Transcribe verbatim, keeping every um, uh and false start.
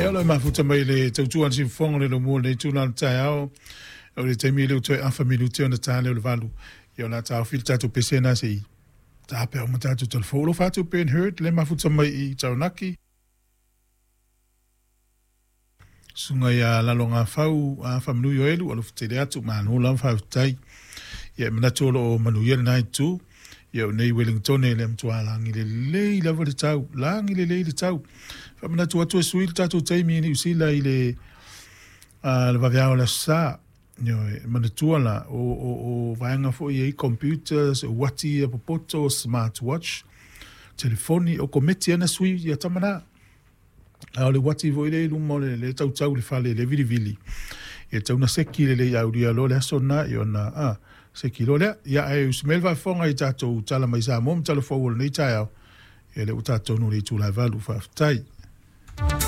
Ia o lo o mafuta mai le tautua a le siufofoga o le lomua o lenei itula o le taeao, o le taimi lea ua toe afa minute ona ta lea o le valu. Ia o le a taofi le tatou pese lena se i tapea uma tatou telefou. Alofa atu Ben Hurd le mafuta mai i Taranaki. Susuga ia Lalogafau Faamanuio Elu, alofa tele atu, malo lava faafetai. Ia e manatu o lo o manuia lena itu. Ia o nei Wellington le matua lagi lelei lava le tau, lagi lelei le tau. Faamanatu atu e sui le tatou taimi i Niu Sila i le uh, le vaveao o le aso Sa. Ioe, manatua la, o, o, o vaega foi e i computers, o uati ia popoto, smart watch, telefoni, o kometi ana sui ia tama na. A o le uati foi lea i luma o le, le tautau i le fale, le vilivili. Ia tau na seki lelei aulia loa le aso lena, ia ona, a, seki loa lea. Ia ae usi mai le faafofoga i tatou tala mai Samoa ma tala fou o lenei taeao. Ia lea ua tatou taunuu i le itula e valu, faafetai.